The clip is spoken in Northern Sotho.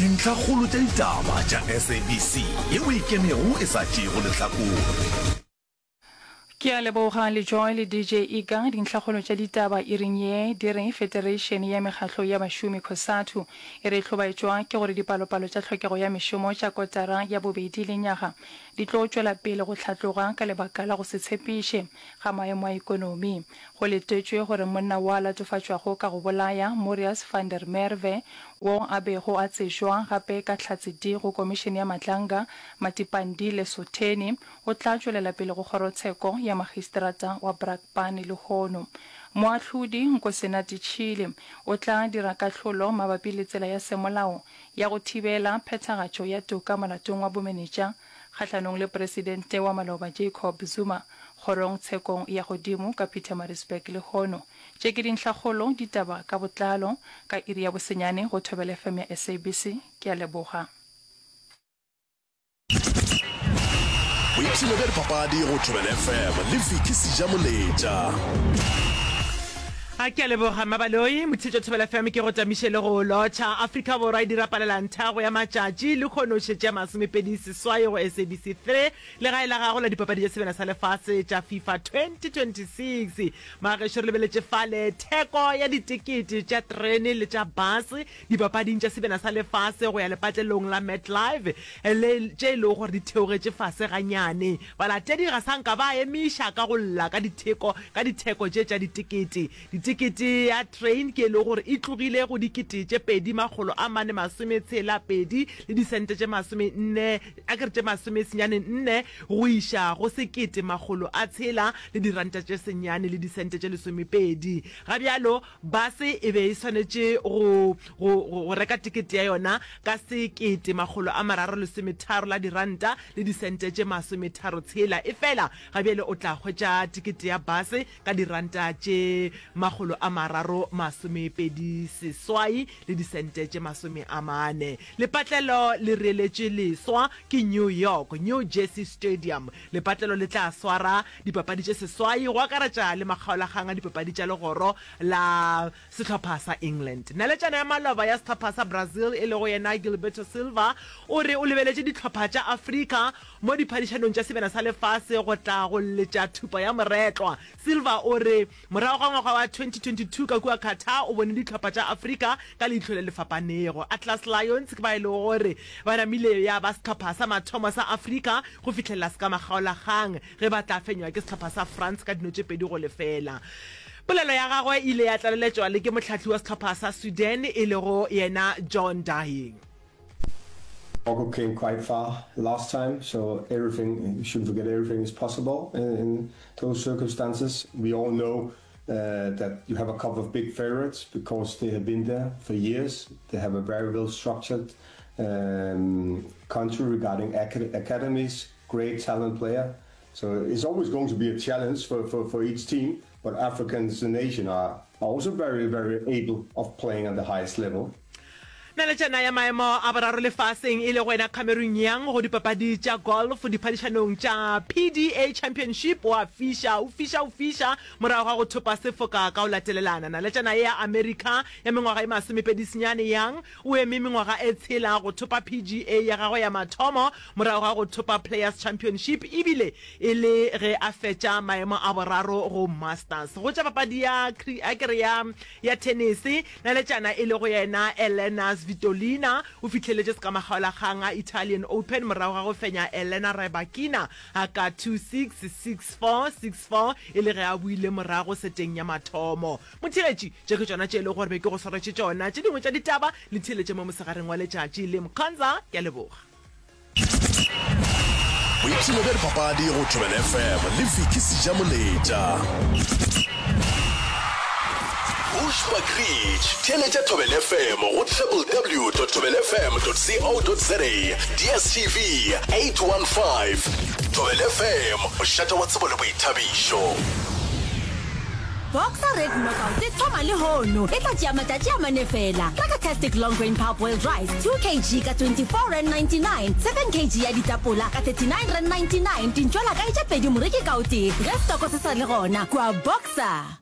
Dintlhakgolo tša ditaba tša SABC yeo e ikemego e sa tšeego lehlakore. Ke a leboga le Joy le DJ Iga. Dintlhakgolo tša ditaba iring ye di re Federeišene ya Mekgatlo ya Bašomi, Cosatu, e re e hlobaetšwa ke gore dipalopalo tša tlhokego ya mešomo tša kotara ya bobedi lenyaga di tlo tšwela pele go hlatloga ka lebaka la go se tshepiše ga maemo a ekonomi. Go letetšwe gore monna wo a latofatšwago ka go bolaya Murias van der Merwe, wo a bego a tsejwa gape ka Hlatse-D go Komišene ya Matlanga, Matipandi Lesotheni, o tla tšwelela pele go Kgorotsheko ya Magistrata wa Brakpan lehono. Moahlodi Nkosinathi Chili o tla dira kahlolo mabapi le tsela ya semolao ya go thibela phethagatšo ya toka molatong wa bomenetša kgahlanong le Presidente wa maloba Jacob Zuma kgorong tshekong ya godimo ka Pietermaritzburg lehono. Tše ke dinhlakgolo ditaba ka botlalo ka iri ya bosenyane go Thobela FM ya SABC. Ke a leboga. Boipshino bja dipapadi go Thobela FM le Vicky Sejamoletša. A ke a leboga Mmabaloi, Motšhetšo Thobela FM ke go tamiše le go lotšha. Afrika Borwa e dira palelanthego ya matšatši lehono šetše ya 28 go SABC 3 legae la gago la dipapadi tša Sebjana sa Lefase tša FIFA 2026. Magešo re lebeletše fale theko ya ditekete tša terene le tša base dipapading tša Sebjana sa Lefase go ya lepatlelong la MetLife le tše e lego gore di theogetše fase ganyane. Balatedi ga sa nka ba emiša ka go lla ka ditheko ka ditheko tše tša ditekete. Ditekete ya train ke e lego gore e tlogile go 2462 le disente tše masomenne a ke re tše masomesenyane nne go iša go 1600 le diranta tše senyane le disente tše lesomepedi. Ga bjalo base e be e swanetše go go go reka tekete ya yona ka 1330 la diranta le disente tše masometharotshela. Efela ga bjale o tla hwetša tekete ya base ka diranta tše 328 le disente tše 40. Lepatlelo le reeletšwe leswa ke New York, New Jersey Stadium. Lepatlelo le tla swara dipapadi tše seswai go akaretša le makgaolakgang a dipapadi tša legoro la sehlopha sa England. Naletšana ya maloba ya sehlopha sa Brazil e lego yena Gilberto Silva o re o lebeletše dihlopha tša Afrika mo diphadišanong tša Sebjana sa Lefase go tla go letša thupa ya moretlwa. Silva o re morago ga ngwaga wa 2022 ka kua Qatar o bone dihlopha tša Afrika ka leihlo le le fapanego. Atlas Lions ke ba e lego gore ba namile ya ba sehlopha sa mathomo sa Afrika go fihlelela sekamakgaolakgang ge ba tla fenywa ke sehlopha sa France ka dino tše 2-0. Polelo ya gagwe e ile ya tlaleletšwa le ke mohlahli wa sehlopha sa Sweden e lego yena John Dying. Morocco came quite far last time, so everything, you shouldn't forget everything is possible in, in those circumstances. We all know uh, that you have a couple of big favorites because they have been there for years. They have a very well structured um, country regarding acad academies, great talent player. So it's always going to be a challenge for, for, for each team, but Africans and Asian are also very, very able of playing at the highest level. Naletšana ya maemo a boraro lefaseng e lego yena Cameron Young go dipapadi tša golf diphadišanong tša PDA Championship o a fiša, o fiša, o fiša morago ga go thopa sefoka ka go latelelana. Naletšana ye ya Amerika ya mengwaga e masomepedi-senyane Young o eme mengwaga e tshela go thopa PGA ya gagwe ya mathomo morago ga go thopa Players Championship ebile e le ge a fetša maemo a boraro go Masters. Go tša papadi ya a ke re ya ya thenese, naletšana e lego yena Elena Svitolina o fihleletše sekamakgaolakgang a Italian Open morago ga go fenya Elena Rybakina ka 2-6, 6-4, 6-4 e le ge a boile morago seteng ya mathomo. Motheeletši, tše ke tšona tše e lego gore be ke go swaretše tšona. Tše dingwe tša ditaba le theeletše mo mosegareng wa letšatši le Mkhonza. Ke a leboga. Boipshino bja dipapadi go Thobela FM le Vicky Sejamoletša. Bushbuckridge, theeletša Thobela FM go www.thobelafm.co.za, DSTV 815. Thobela FM, mošate wa tsebo le boithabišo. Boxer Red Knockout e thoma lehono, e tla tšea matšatši a mane fela. Reka Tastic Long Grain Parboiled Rice 2 kg ka R24.99, 7 kg ya ditapola ka R39.99, dintšwela kae tše pedi moreki ka o tee ge stoko se sa le gona kua Boxer.